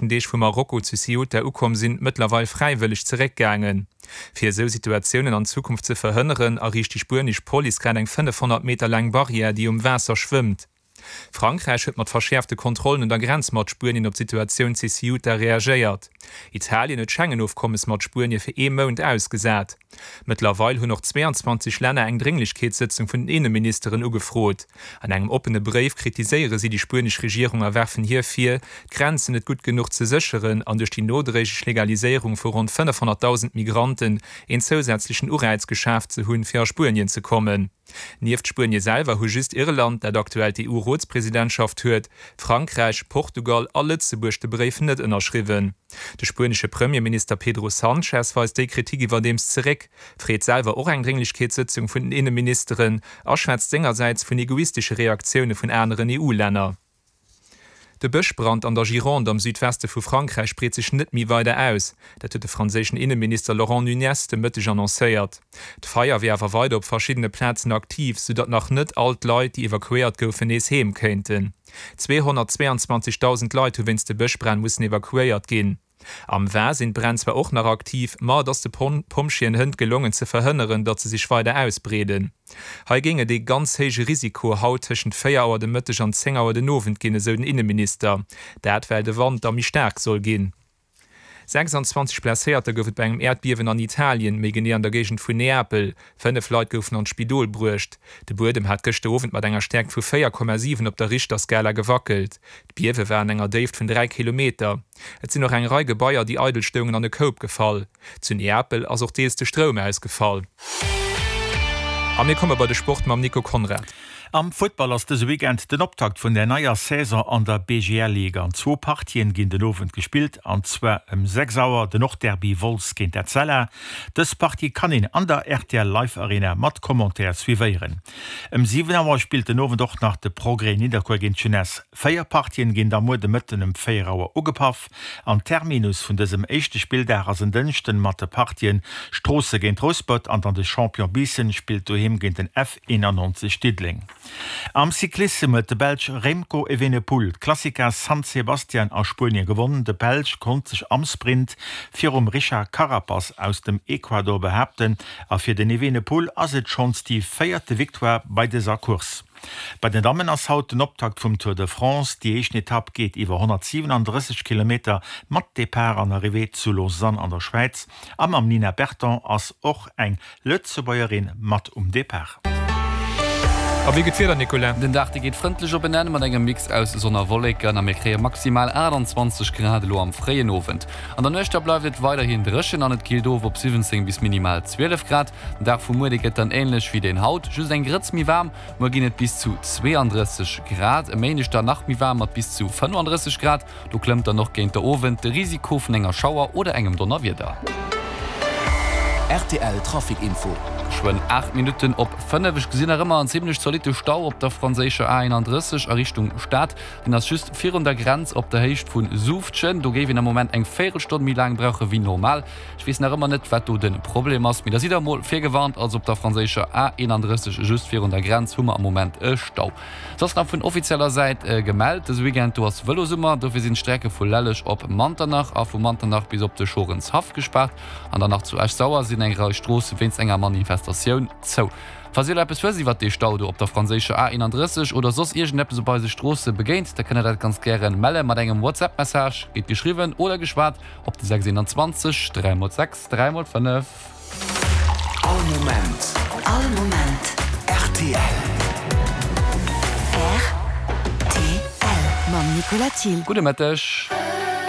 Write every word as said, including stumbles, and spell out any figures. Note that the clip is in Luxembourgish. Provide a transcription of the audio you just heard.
Deeg vu Marokko zu Ceuta ukomm sinn, mëttlerweil fräiwëlleg zeréckgaangen. Fir esou Situatiounen an Zukunft ze verhënneren, erriicht déi spuenesch Police grad eng fënnefhonnert Meter laang Barrière, déi um Waasser schwëmmt. Frankräich huet mat verschäerfte Kontrollen un der Grenz mat Spuenien op d'Situatioun zu Ceuta reagéiert. Italien huet d'Schengen-Ofkommes mat Spuenie fir ee Mount ausgesat. Mëttlerweil hunn och zweeanzwanzeg Länner eng Drénglechkeetssëtzung vun den Inneministeren ugefrot. An engem oppene Bréif kritiséiere si déi spuenesch Regierung a werfen hir vir, d'Grenzen net gutt genuch ze sécheren an duerch déi nodréiglech Legaliséierung vu ronn fënnefhonnertdausend Migranten een zousätzlechen Uräiz geschaaft ze hunn, fir a Spuenien ze kommen. Nieft Spuenie selwer hu just Irland, dat aktuell d'EU-Rotspresidentschaft huet, Frankräich, Portugal a Lëtzebuerg de Bréif net ënnerschriwwen. De spuenesche Premierminister Pedro Sanchez weist déi Kritik iwwerdeems zeréck, freet selwer och eng Drénglechkeetssëtzung vun den Inneministeren a schwätzt sengersäits vun egoistesche Reaktioune vun aneren EU-Länner. De Bëschbrand an der Gironde am Südweste vu Frankräich breet sech net méi weider aus. Dat huet de franséischen Inneminister Laurent Nunez de Mëtteg annoncéiert. D'Feier wier awer weider op verschiddene Plazen aktiv, soudatt nach net all d'Leit, déi evakuéiert goufen, nees heem kéinten. Zweehonnertzweeanzwanzegdausend Leit hu wéinst de Bëschbränn mussen evakuéiert ginn. Am Var sinn d'Bränn zwar och nach aktiv, ma et ass de Pompjeeën hënt gelongen ze verhënneren, datt se sech weider ausbreeden. Hei géing et ee ganz héije Risiko haut tëschent véier Auer de Mëtteg an zéng Auer den Owend ginn, esou den Inneminister. Dat well de Wand da méi staark soll ginn. sechsanzwanzeg Blesséierter gouf et bei engem Äerdbiewen an Italien, méi genee an der Géigend vun Neapel. Fënnef Leit goufen an d'Spidol bruecht. De Buedem hat gëschter Owend mat enger Stäerkt vu véier Komma siwen op der Richterskala gewackelt. D'Biewe war an enger Déift vun dräi Kilometer. Et sinn och eng Rei Gebaier, déi eidel stoungen, an e Koup gefall. Zu Neapel ass och deels de Stroum ausgefall. A mir komme bei de Sport mam Nico Conrad. Am Futtball ass dëse Weekend den Optakt vun der neier Saison an der B G L Liga. An zwou Partien ginn den Owend gespillt, an zwar ëm sechs Auer den Nordderby Wolz géint Etzella. Dës Partie kann een an der R T L Live Arena mat Commentaire suivéieren. Ëm siwen Auer spillt den Owend och nach de Progrès Nidderkuer géint d'Jeunesse. Véier Partien ginn da muer de Mëtten ëm véier Auer ugepaff an Terminus vun dësem éischte Spilldag ass en Dënschden mat de Partien Stroossen géint Rouspert an dann de Champion Biissen spillt doheem géint den F eenanneonzeg Diddeleng. Am Cyclissem huet de Belsch Remco Evenepoel d'Clásica San Sebastian a Spuenie gewonnen. De Belsch konnt sech am Sprint virum Richard Carapaz aus dem Ecuador behaapten a fir den Evenepoel ass et schonns déi véierte Victoire bei dëser Course. Bei den Dammen ass haut den Optakt vum Tour de France. Déi éischten Etapp geet iwwer honnertsiwenandrësseg Kilometer mat Depart an Arrivée zu Lausanne an der Schwäiz. A mam Nina Berton ass och eng Lëtzebuergerin mat um Depart. A wéi gëtt d'Wieder, Nicolas? Den Dag dee geet frëndlech op en Enn mat engem Mix aus Sonn a Wolleken a mir kréie maximal aachtanzwanzeg Grad elo am fréien Owend. An der Nuecht da bleift et weiderhin dréchen an et killt of op siwwenzéng bis minimal zwielef Grad. Den Dag vu muer dee gëtt dann änlech wéi deen haut, just eng Grëtz méi waarm. Muer ginn et bis zu zweeandrësseg Grad, e Méindeg dann nach méi waarm mat bis zu fënnefandrësseg Grad. Do klëmmt dann och géint de Owend de Risiko vun enger Schauer oder engem Donnerwieder. R T L Trafic Info. Geschwënn aacht Minutten op fënnef. Ech gesinn nach ëmmer en zimlech zolitte Stau op der franséischer A eenandrësseg a Richtung Stad. Deen ass just virun der Grenz op der Héicht vu Suuftgen. Do géif een am Moment eng Véierelstonn méi laang brauche wéi normal. Ech weess nach ëmmer net, wat do de Problem ass, mee da sidd der emol virgewarnt. Also op der franséischer A eenandrësseg just virun der Grenz hu mer am Moment e Stau. Soss nach vun offizieller Säit gemellt, dëse Weekend do ass Vëlosummer, dofir sinn d'Strecke vu Lelleg op Manternach a vu Manternach bis op de Schorenshaff gespaart. An dann nach zu Esch-Sauer sinn eng Rei Stroosse wéinst enger Manifestatioun zou. Falls dir elo eppes wësst iwwert dee Stau do op der franséischer A eenandrësseg oder soss iergendeppes op eise Stroosse begéint, da kënnt der dat ganz gären melle mat engem WhatsApp-Message, geet geschriwwen oder geschwat, op de sechs eenanzwanzeg dräi mol sechs dräi mol fënnef. All Moment. All Moment. R T L. R T L mam Nicolas Thiel. Gudde Mëtteg.